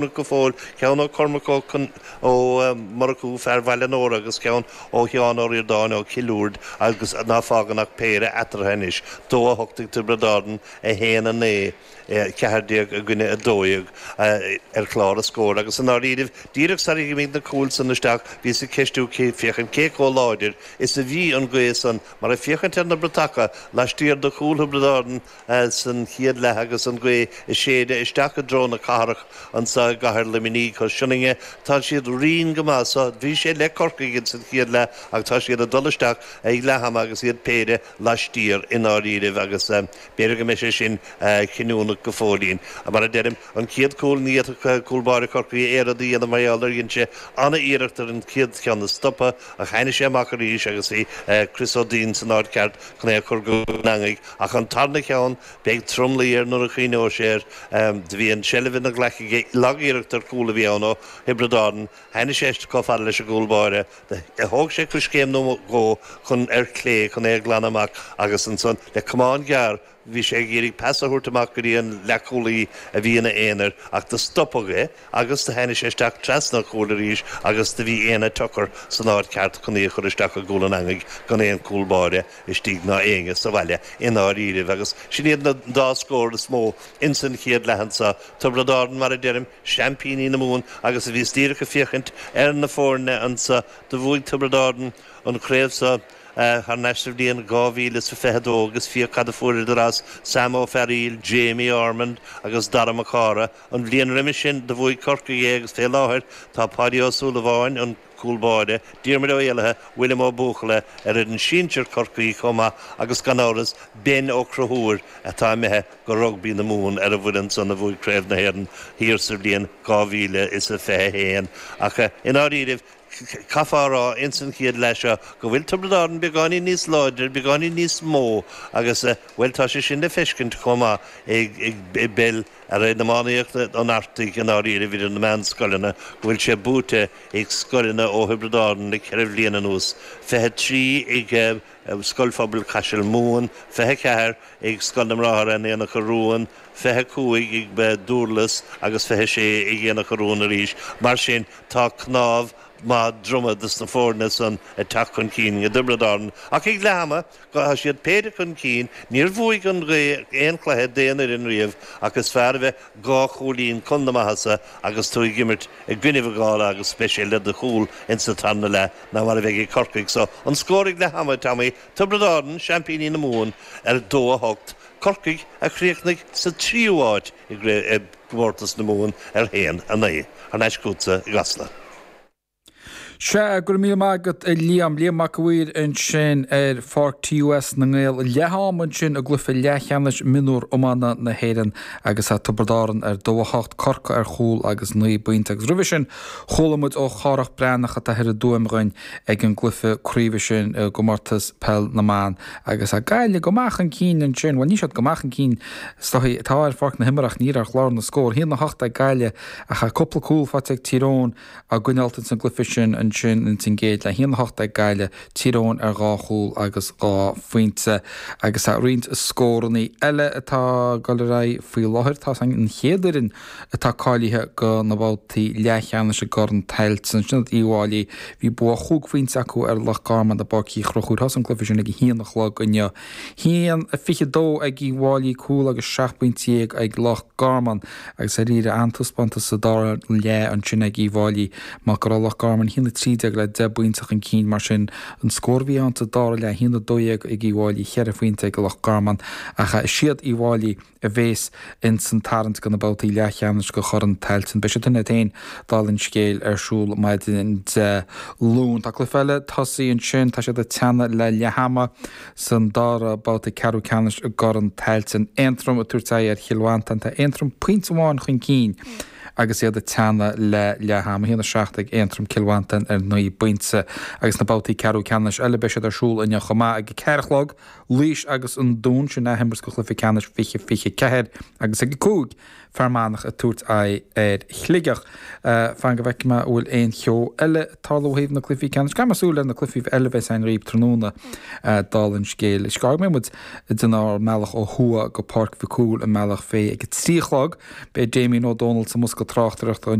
Go fóill, ceann ó Cormac Ó Ó Murchú, fear Bhaile an Óra agus ceann ó Sheán Ó Ríordáin ó Chill Uird agus ná fágann ach péire eatarthu anois, 2, 8 ag Tiobraid Árann, 1, 9, 14 i gcoinne 12 ar chlár an scóir agus i ndáiríribh, díreach sar imigh na cúil san isteach, bhíos ag ceistiú féachaint cé chomh láidir is a bhí an ghaoth san mar ag féachaint ar na bratacha laistiar de chúl Thiobraid Árann san chéad leath agus an ghaoth ag séideadh isteach i dtreo na cathrach anso i gcathair Luimnigh. Sionainne, tá siad righin go maith so. Bhí sé le Corcaigh ins an chéad leath ach tá siad ag dul isteach ag leath ama agus iad péire laistiar i ndáiríribh agus b'fhéidir go mbeidh sé sin cinniúnach go fóillín. Mar a deirim, an chéad chúl ní fhéadfadh cúl báire Chorcaí aon rud a dhéanamh mar gheall ar dhein sé an-iarracht ar an chéad cheann a stopadh ach tháinig sé amach arís agus bhí Chris Ó Duinn san áit cheart chun é a chur go an eangaigh. Ach an tarna cheann, beidh tromluí air nuair a chuimhneoidh sé air. Do bhí an tseilbh ina ghlaic aige, lag-iarracht ar chúl a bhí ann ó Thiobraid Árann. Tháinig sé chomh fada leis an gcúl báire. Thóg sé coiscéim nó dhó chun ar chlé chun é a ghlanadh amach agus ansan, le camán gearr, bhí sé ag iarraidh pas a thabhairt amach go dtí an leathchúlaí a bhí ina aonar ach do stopadh é. Agus do tháinig sé isteach trasna an chúil arís agus do bhí Éanna Tucker san áit cheart chun í a chur isteach i gcúl an eangaigh gan aon chúl báire istigh ná éinne sa bhaile i ndáiríribh. Agus sin iad na dá scór is mó ins an chéad leath anso. Tiobraid Árann, mar a deirim, seaimpíní na Mumhan agus a bhíos díreach ag féachaint ar na foirne anso do bhuaigh Tiobraid Árann an chraobh so. Thar n-ais sa bhliain 2022 agus féach cad a fuaireadar as Sam Ó Fearaíl, Jamie Ormond agus Dara Mac Cártha. An bhliain roimis sin do bhuaigh Corcaigh é agus fé láthair tá Páidí Ó Súilleabháin, an cúl báire, Diarmuid Ó Éalaithe, William Ó Buachalla ar fhoireann sinsir Chorcaí chomh maith agus gan amhras Ben Ó Conchúir atá imithe go Rugbaí na Mumhan ar an bhfoireann san a bhuaigh Craobh na hÉireann thiar sa bhliain 2021. Ach i ndáiríribh Caithfeá a rá ins an chéad leath seo go bhfuil Tiobraid Árann beagáinín níos láidre, beagáinín níos mó agus, bhuel, tá sé sin le feiscint chomh maith i bpeil ar in iománaíocht an Artaigh i ndáiríribh idir na meánscoileanna go bhfuil sé buaite ag scoileanna ó Thiobraid Árann le ceithre bhliain anuas, 23 ag Scoil Phobail Chaiseal Mumhan, 24 ag Scoil na mBráthar in Aonach Urmhumhan, 25 ag Dúrlas agus 26 ag Aonach Urmhumhan arís. Mar sin, tá cnámh maith droma dos na foirne san ag teacht chun cinn i dTiobraid Árann. Ach ag leath ama, tá siad péire chun cinn. Níor bhuaigh an ghaoth aon chluiche d'aon fhoireann riamh ach is fearr a bheith dhá chúilín chun na maitheasa agus tú ag imirt i gcoinnibh an ghála agus beidh sé le do chúl insa tarna leath ná mar a bheidh ag Corcaigh. So, an scór ag leath ama, Tommy, Tiobraid Árann, seaimpíní na Mumhan, ar 2-8, Corcaigh a chríochnaigh sa tríú háit i gcomórtas na Mumhan ar 1-9. Thar n-ais chugatsa i gCasla. Sea, go raibh míle maith agat a Liam. Liam Mac a' Mhaoir ansin ar Pháirc TUS na nGael. Leath ama ansin i gcluiche leathcheannais mionúr iomána na hÉireann agus tá Tiobraid Árann ar 2-8, Corcaigh ar chúl agus 9 bpointe. Agus roimhe sin chuala muid ó Chárthach Breathnach atá thoir i dTuaim dhúinn ag an gcluiche craoibhe sin i gcomórtas peil na mban. Agus tá Gaillimh go maith chun cinn ansin, bhuel níl siad go maith chun cinn is dóigh, tá ar pháirc na himeartha ach níl ar chlár na scór. 1-8 ag Gaillimh ach tá cúpla cúl faighte ag Tír Eoghain á gcoinneáilt ins an gcluiche sin ansin ins an gcéad leath. 1-8 ag Gaillimh, Tír Eoghain ar dhá chúl agus dhá phointe. Agus tá roinnt scórannaí eile atá ag dul ar aghaidh faoi láthair. Tá an chéad fhoireann atá cáilithe go na babhtaí leathcheannais i gCorn Tailteann. Sin iad Uíbh Fhailí. Bhí bua chúig phointe acu ar Loch Garman i bPáirc Uí Chonchúir. Thosaigh an cluiche sin ag a haon a chlog inniu. 1-22 ag Uíbh Fhailí, cúl agus 17 pointe ag Loch Garman agus dáiríre an-taispeántas sa dara leath ansin ag Uíbh Fhailí mar go raibh Loch Garman 1-13 le 10 bpointe chun cinn mar sin an scór a bhí ann sa dara leath 1-12 ag Uíbh Fhailí, 4 phointe ag Loch Garman ach is iad Uíbh Fhailí a bhéas ins an tarraingt go na babhtaí leathcheannais go Chorn Tailteann. Beidh siad sin iad féin, dála an scéil, ar siúl maidin Dé Luain. Tá cluiche eile tosaithe ansin, tá siad ag teannadh le leath ama san dara babhta ceathrú ceannais i gCorn Tailteann. Aontroim ag tabhairt aghaidh ar Chill Mhantáin. Tá Aontroim pointe amháin chun cinn agus iad ag teannadh le leath ama. 1-7 ag Aontroim, Cill Mhantáin ar 9 bpointe. Agus na babhtaí ceathrú ceannais eile beidh siad ar siúl inniu chomh maith ag 4 a chlog. Laois agus an Dún, sin athimirt go chluiche ceannais 2024 agus ag 5. Fear Manach ag tabhairt aghaidh ar Shligeach. Fan go bhfeicfidh mé an bhfuil aon cheo eile ag tarlú ó thaobh na cluichí ceannais. Caithfidh mé súil ar na cluichí eile a bheas againn dhaoibh tráthnóna, dála an scéil. Is go mbeidh muid ag déanamh ár mbealach ó thuaidh go Páirc Mhic Cumhaill i mBealach Féich ag a 3 a chlog. Beidh Damien Ó Dónaill sa mbosca tráchtaireachta.